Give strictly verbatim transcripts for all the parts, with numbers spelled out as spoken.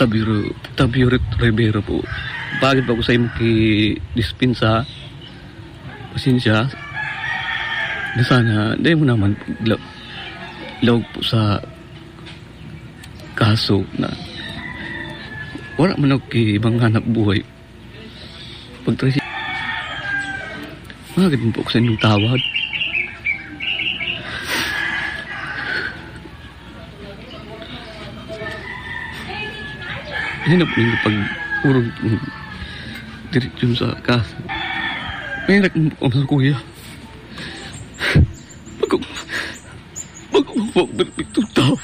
Tabiro, Tabiro Rivera po. Bakit ba ko sa imo ki dispensa? Pasensya. Na sana, dahil mo naman la-, laog po sa kaso na wala man ako ki ibang hanap buhay. Pagtrasi-, magad mo po ako sa inyong tawad. Yan ang pinapag-urog, mm, direksyon sa kaso. Mahirap mo po ako, kuya. Pag-, pag-, pag-, perfectong tao.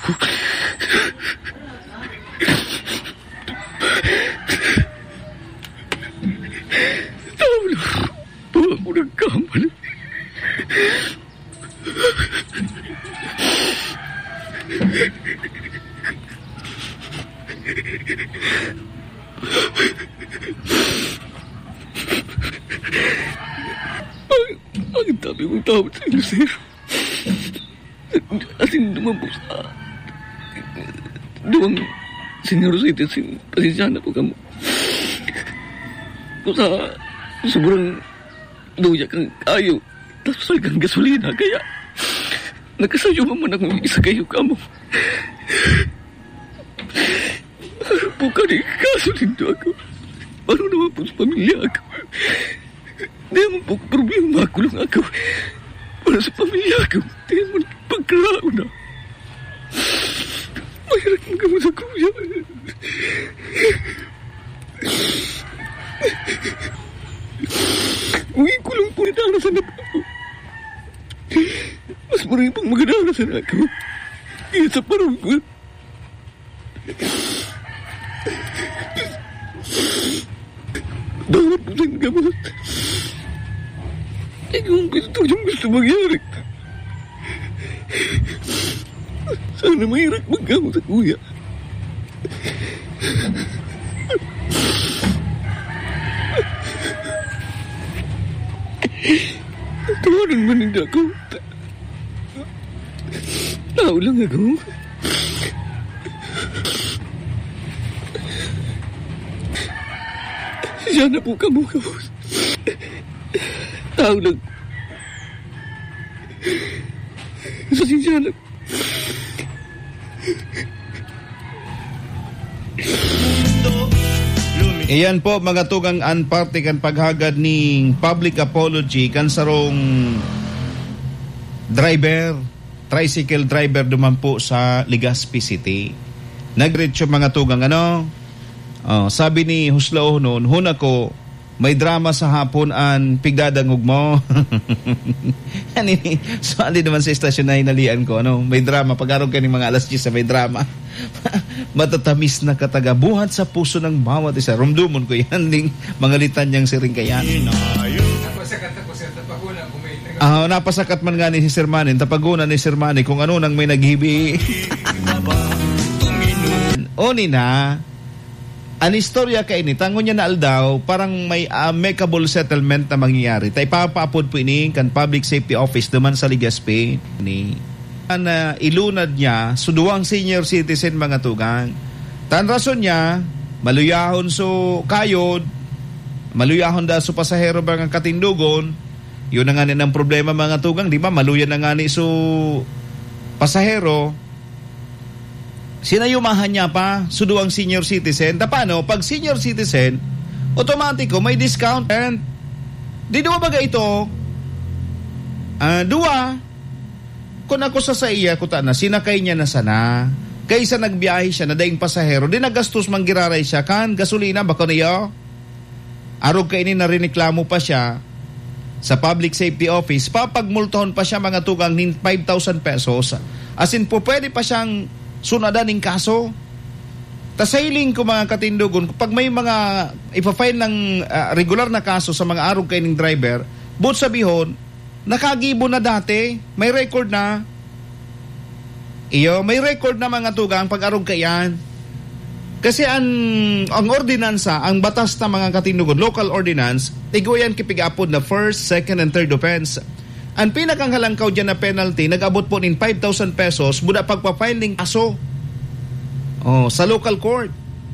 Tao lang. Buwan ko nagkamali. Ang, ang dami kong tawad sa inyo, sir. Asin duman po sa duwang senior citizen, pasensya na po kamo. Kung sa sobrang luya kan kayo, tapos ay kan gasolina, kaya nagkasayo man akong isagayo kamo. Ano po kani kaso nindo ako? Ano naman po sa pamilya ako? Di naman po problema ako lang ako. Para sa pamilya ko, di naman pagkaraon na. Mahirap ang gamot sa kuya. Uwi ko lang po, nadarasan na po ako. Mas marami pang magdadarasan ako. Kaya sa parang ko, dapat po siyang gamot. Ay, kung gusto niyong gusto mangyari. Sana mahirap maggamot sa kuya. Tawanan man ninda ako. Tao lang ako. Siya na po kamo, kamo. Tao lang. Pasensya na. Iyan po, mga tugang, an parte kan paghagad ning public apology kan sarong driver, tricycle driver duman po sa Legazpi City. Nagdiretso, mga tugang, ano? Oh, sabi ni Huslaonon, "Huna ko, may drama sa hapon an pigdadangog mo." Ano ini? Sumali naman sa estasyon na hinalian ko, ano? May drama. Pag-arog ka ning mga alas diyes na may drama. Matatamis na katagabuhat sa puso ng bawat isa. Rumdumon ko yan, ning mga litanyang siring kayan. Ah, napasakat man nga ni si Sir Manny, tapaguna ni Sir Manny kung ano nang may naghibi. Oni na, an istorya kaini, ta ngunyan na aldaw, parang may amicable settlement na mangyayari. Ta ipapaapod po ini kan Public Safety Office duman sa Legazpi. Ni, na ilunad niya, so duwang senior citizen, mga tugang. Ta an rason niya, maluyahon so kayod, maluyahon da so pasahero, mga katindogon. Yun na nga ni ang problema, mga tugang, di ba? Maluya na nga ni so pasahero, sinayumahan niya pa so duwang senior citizen. Ta paano? Pag senior citizen, otomatiko may discount. And di duwa baga ito, ah, duwa, kung ako sa saiya, kuta na, sinakay niya na sana. Kaysa nagbiyahe siya na daing pasahero, di nagastos man giraray siya kan gasolina, bako niyo? Arog kaini, narireklamo pa siya sa Public Safety Office, papagmultahon pa siya, mga tugang, nin five thousand pesos. As in po, pwede pa siyang sunadan ning kaso. Ta sa hiling ko, mga katindogon, pag may mga ipa-file ng, ah, regular na kaso sa mga arog kaining driver, buot sabihon, nakagibo na dati, may record na. Iyo, may record na, mga tugang, pag-arog kaiyan. Kasi an, ang ordinansa, ang batas na, mga katindogon, local ordinance, igwa yan ki pig-aapod na first, second, and third offense. An pinakanghalangkaw diyan na penalty, nag-abot po nin five thousand pesos, buda pagpa-file ning kaso. Oh, sa local court.